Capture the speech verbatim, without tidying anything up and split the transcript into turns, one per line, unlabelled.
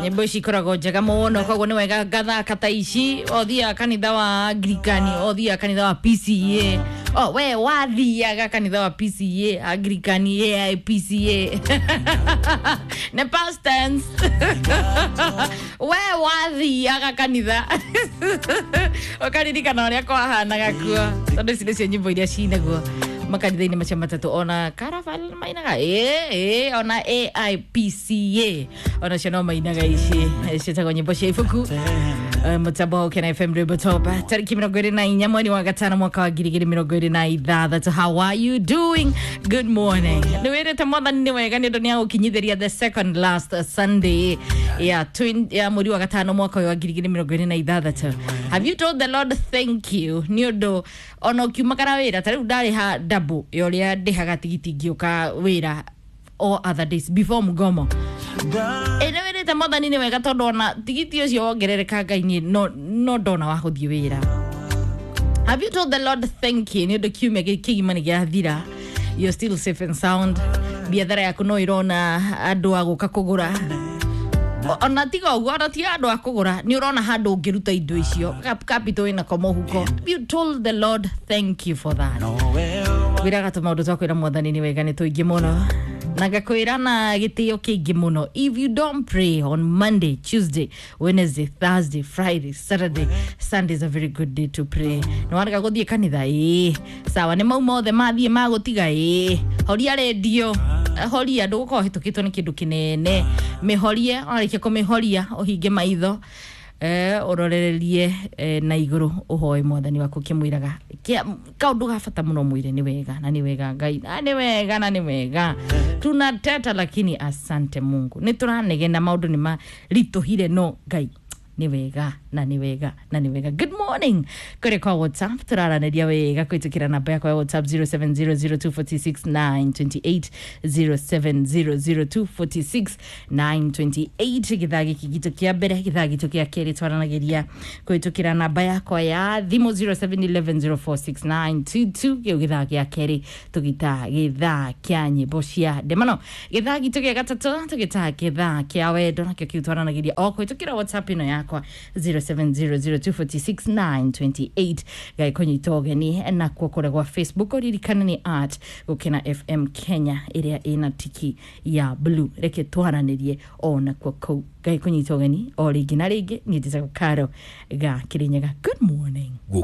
Nyĩmbo ici ikoragwo njega mũno, koguo nĩ wega ngathaka ta ici. Othiaga kanitha wa Anglikani, othiaga kanitha wa P C A, o we wathiaga kanitha wa P C A, Anglikani, A I P C A nĩ past tense. We wathiaga kanitha ũkaririkana ũrĩa kwahanaga kuo, tondũ ici nĩcio nyĩmbo iria cinagwo makanitha-inĩ macio matatũ. Ona Caravan mainaga, ĩ ĩ ona A I P C A onacio no mainaga ici ciĩtagwo nyĩmbo cia ibuku. Eh, mũtambo wa Ũkena F M, rwĩmbo top, tarĩki mĩrongo ĩrĩ na inya mweri wa gatano mwaka wa ngiri igĩrĩ mĩrongo ĩrĩ na ithathatũ. How are you doing? Good morning. Nĩ wĩrĩte Mwathani nĩ wega nĩ ũndũ nĩ agũkinyithĩria the second last Sunday ya twin, ya mweri wa gatano mwaka ũyũ wa ngiri igĩrĩ mĩrongo ĩrĩ na ithathatũ? Have you told the Lord thank you nĩ ũndũ ona ũkiumagara wĩra ta rĩu ndarĩha double ya ũrĩa ndĩhaga tigiti ngĩũka wĩra all other days before mgomo? Ĩ nĩ wĩrĩte Mwathani nĩ wega tondũ ona tigiti ũcio wongerereka, Ngai niĩ no, no ndona wa gũthiĩ wĩra? Have you told the Lord thank you nĩ ũndũ kiumia gĩkĩ kĩgima nĩ gĩathira, you're still safe and sound, biathara yaku no ĩrona andũ a gũka kũgũra? O- ona tiga ũguo, ona tiga andũ a kũgũra, nĩ ũrona handũ ũngĩruta indo icio. Cap- capital ĩnako mũhuko. Have you told the Lord thank you for that? Wĩraga tũmaũndũ twa kwĩra Mwathani nĩ wega nĩ tũingĩ mũno, na ngakwĩra na gĩtĩo kĩingĩ mũno, if you don't pray on Monday, Tuesday, Wednesday, Thursday, Friday, Saturday, Sunday is a very good day to pray. Nĩ warega gũthiĩ kanitha, ĩĩ sawa, nĩ mau mothe mathiĩ magũtiga, ĩĩ horia rendio, horia, ndũgũkorwo hĩtũkĩtwo nĩ kĩndũ kĩnene. Mĩhorie, warĩkia kũmĩhoria ũhinge maitho, eh, ũrorererie eh, na igũrũ, ũhoe Mwathani waku ũkĩmwĩraga Kĩa- kaũndũ ga bata mũno, mwĩre nĩ wega na nĩ wega Ngai, na nĩ wega na nĩ wega. Tunateta lakini asante Mungu. Nĩ tũranegena, maũndũ nĩ maritũhire, no Ngai nĩ wega na nĩ wega na nĩ wega. Good morning. Kũrĩ kwa WhatsApp tũraranĩria wega kũhĩtũkĩra namba yakwa ya WhatsApp zero seven zero zero two four six nine two eight, zero seven zero zero two four six nine two eight. Gĩthaa gĩkĩ gitũ kĩa mbere, gĩthaa gitũ gĩa kerĩ twaranagĩria kũhĩtũkĩra namba yakwa ya thimũ zero seven one one zero four six nine two two. Kĩu gĩthaa gĩa kerĩ tũgĩtaa gĩthaa kĩa nyĩmbo cia ndemano. Gĩthaa gitũ gĩa gatatũ tũgĩtaa gĩthaa kĩa wendo, nakĩo kĩu twaranagĩria o kũhĩtũkĩra WhatsApp ĩno yakwa zero seven zero zero two four six nine two eight. Gagĩkũnyita ũgeni nakuo kũrĩa gwa Facebook, ũririkane nĩ at Gũkena F M Kenya ĩrĩa ĩna tiki ya blue. Reke twaranĩrie o nakuo kũu. Gagĩkũnyita ũgeni o rĩngĩ na rĩngĩ, niĩ njĩtagwo Karo ga Kĩrĩnyaga. Good morning.